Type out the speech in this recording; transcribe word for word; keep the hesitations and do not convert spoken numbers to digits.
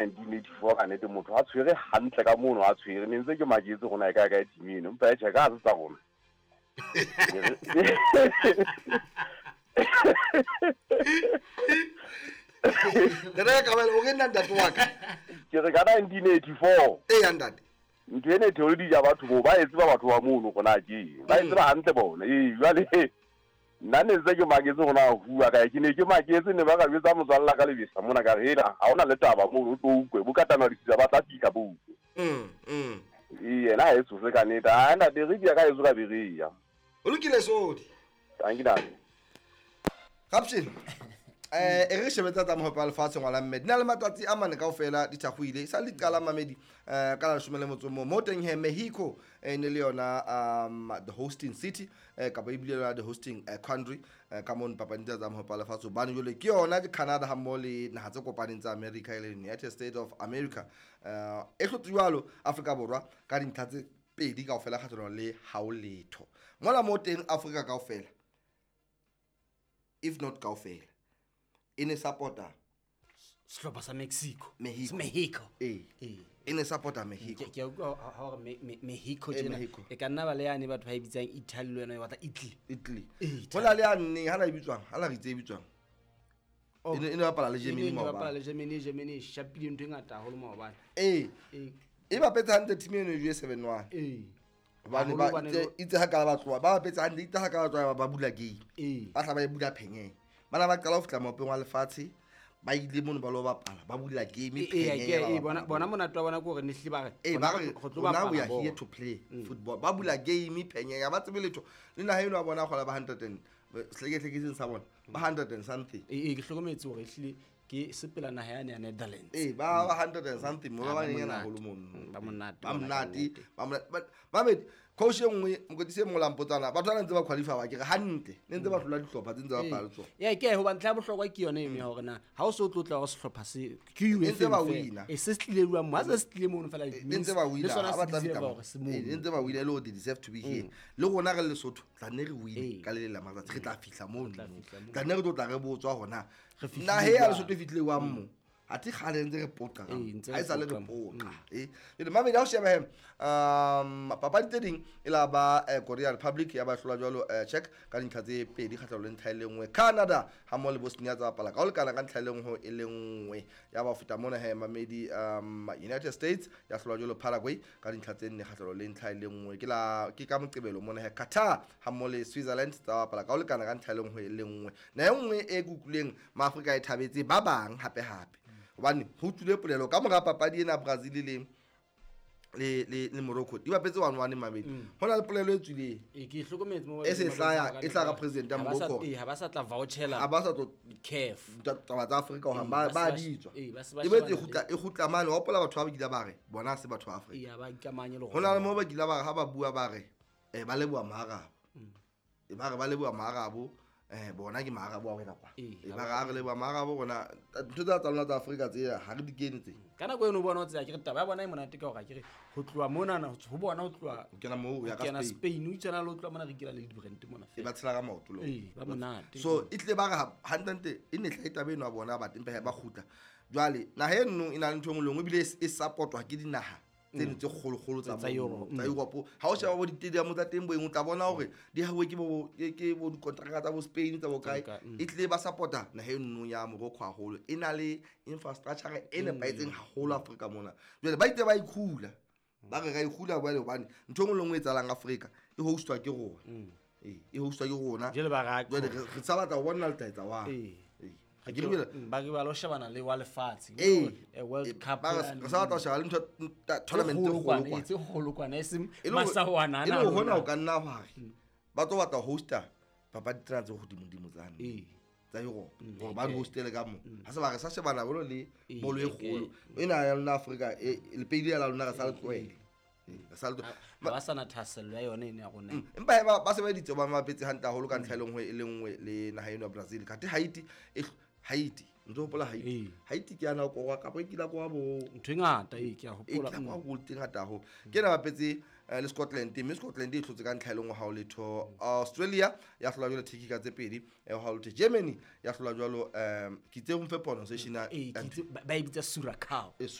nineteen eighty-four ka nnete motho a tshwere hantle ka mono a tshwere ne ntse ke maketse rona e kae kae team eno empa e tjhe ka ha se tsa rona. Ntate Kabelo o re nna ntate wa ka. Ke re ka nineteen eighty-four. Eh ntate. Ntho ena e theole dija batho bo ba e tseba batho ba mono rona ke. Ba e tseba hantle bona. Eh jwale nna ne ntse ke maketse rona hua kae ke ne ke maketse ne ba ka jwetsa motswalla ka lebesa mona ka re hela ha ona le taba mono o tlo utlwe bo katana ditsa ba tla fihla bo utlwe. Mm mm. Eh yena ha e tsose ka nnete. Ha ntate re dia ka etso ka bereya. O lokile sodi. Thank you ntate. Caption. Eh e re shebetsa tsa mohope wa lefatshe ngwala mme di na le matsatsi a mane kaofela di thakgoile sa le qala mamedi eh ka la leshome le motso mo mo teng he Mexico e ne le yona um the hosting city eh kapa ebile yona the hosting country ka mono papadi tsa mohope wa lefatshe hobane jwale ke yona ke Canada ha mmoho le naha tse kopaneng tsa America e leng United States of America eh e hlotse jwalo Afrika Borwa ka dintlha tse pedi kaofela kgahlano le hao letho mola mo teng Afrika kaofela if not kaofela e ne supporta sehlopha sa Mexico. Mexico. Mexico. Eh. E ne supporta Mexico. Ke utlwa ha hore Mexico tjena e ka nna ba le yane batho ba e bitsang Italy le yona e batla Italy. Italy. Hona le yane ha la e bitswang, ha la re itse e bitswang. E ne e ne bapala le Germany maobane. E ne bapala le Germany, Germany shapile ntho e ngata haholo maobane. Eh. E bapetse hantle team eno e seven one. Eh. Hobane ba itse ha ka ba tloha, ba bapetse hantle itse ha ka ba tloha ba bula game. Ba tla ba e bula phenyeng. Bana ba qala ho fihla mopeng wa lefatshe ba ile mono ba lo bapala ba bula game phenyeng. Eh bona bona monate wa bona ke hore ne hle ba re ba re rona we are here to play football ba bula game phenyeng ba tsebe letho le naha eno wa bona kgola ba hundred and hlekehlekeseng sa bona ba hundred and something. Eh ke hlokometse hore ehlile ke sepela naha yane ya Netherlands. Eh ba ba hundred and something mo ba banyana haholo mono. Ba monate. Ba monate. Ba monate. Mamedi coach e nngwe mokotisi e mong la mpotsana batho ba ntse ba qualify ba ke re hantle ne ntse ba hlola dihlopha tse ntse ba bapala tsona. Yeah ke ho ba ntlha bohlokwa ke yona eno ya hore na ha o so tlotla hore sehlopha se ke U F ntse ba wina. E se tlile jwang mo ha se tlile mono fela ntse ba wina ha ba tla fihla mo. Ntse ba wina le they deserve to be here. Le rona re Lesotho tla nne re wine ka le la matsatsi re tla fihla mono. Tla nne re tlo tla re botswa hona. Na he ya Lesotho e fihlile wa mo. Athe kgale ntse re poqa ka ha e sale re poqa eh le mamedi ha o sheba he um papadi tse ding e la ba Korea Republic ya ba hlola jwalo Czech ka dintlha tse pedi kgahlano le ntlha e le nngwe Canada ha mmoho le Bosnia tsa bapala ka ho lekana ka ntlha e le nngwe e le nngwe ya ba feta mona he mamedi um United States ya hlola jwalo Paraguay ka dintlha tse nne kgahlano le ntlha e le nngwe ke la ke ka moqebelo mona he Qatar ha mmoho le Switzerland tsa bapala ka ho lekana ka ntlha e le nngwe e le nngwe na e nngwe e kukuleng maAfrika e thabetse ba bang hape hape hobane ho tswile polelo ka mora papadi ena Brazil le le le le Morocco di bapetse one one mamedi hona le polelo e tswileng e ke hlokometse mo e se hlaya e hlaka president ya Morocco e ha ba sa tla vouchela ha ba sa tlo C A F taba tsa Afrika ho ba ba ditswa e betse e kgutla e kgutla mane wa hopola batho ba kile ba re bona se batho ba Afrika e ba ikamanye le hona le mo ba kile ba re ha ba bua ba re eh ba leboha Maarabo e ba re ba leboha Maarabo eh bona ke Maarabo wa wena kwa e ba re re leboha Maarabo rona ntho tsa tsa lona tsa Afrika tse ha re di kene tse ka nako eno bona o tsaya ke re taba ya bona e monate ka hore ke re ho tloha mona na ho bona ho tloha o kena moo ya ka Spain Spain o tsena le ho tloha mona re kila le di-brand mona e ba tshela ka maoto lo eh ba monate so e tle ba re hantle e ne tla e taba eno ya bona ba tempe ba kgutla jwale naha eno e na le ntho e nngwe le nngwe ebile e supportwa ke dinaha tseno tse kgolokgolo tsa Tsa Europe. Tsa Europe ha o sheba bo di-stadium tsa teng bo eng o tla bona hore di hauwe ke bo ke bo dikontraka tsa bo Spain tsa bo kae e tlile ba supporta naha eno ya Morocco haholo e na le infrastructure e nepahetseng haholo Afrika mona jwale ba itse ba ikhula ba re ra ikhula jwale hobane ntho e nngwe le nngwe e etsahalang Afrika e hostwa ke rona ee e hostwa ke rona jwale ba ra jwale re sa batla ho bona letaetsa wa ee ha ke re ba re ba lo shebana le wa lefatshe e World Cup ba re sa batla ho sheba le ntho tournament e kgolo e tse kgolo kwana e seng masawana ana e le hona o ka nna hwa re ba tlo batla hosta papadi tsena tse hodimodimo tsane ee tsa Europe hore ba di hostele ka mo ha se ba re sa shebana bolo le bolo e kgolo ena ya lona Afrika e lepedi la lona re sa le tlohele ba sa na thahasello ya yona ene ya rona empa ba ba sebeditse ba mapetse hantle haholo ka ntlha e le nngwe e le nngwe le naha eno ya Brazil kate Haiti e Haiti Ntse hopola Haiti? Ee. Haiti ke yana kora kapa e kila kwa bo Ntho e ngata ee, ke a e hopola. kila kwa goal tse ngata haholo. Ke ena bapetse eh, le Scotland, mme Scotland e hlotse ka ntlha e le nngwe ha ho letho. Australia ya hlola jwalo Turkey ka tse pedi eh, ha ho letho. Germany ya hlola jwalo, um ke itse o mfe pronunciation ya Ee, ke itse ba ba e bitsa Suracao. Eh,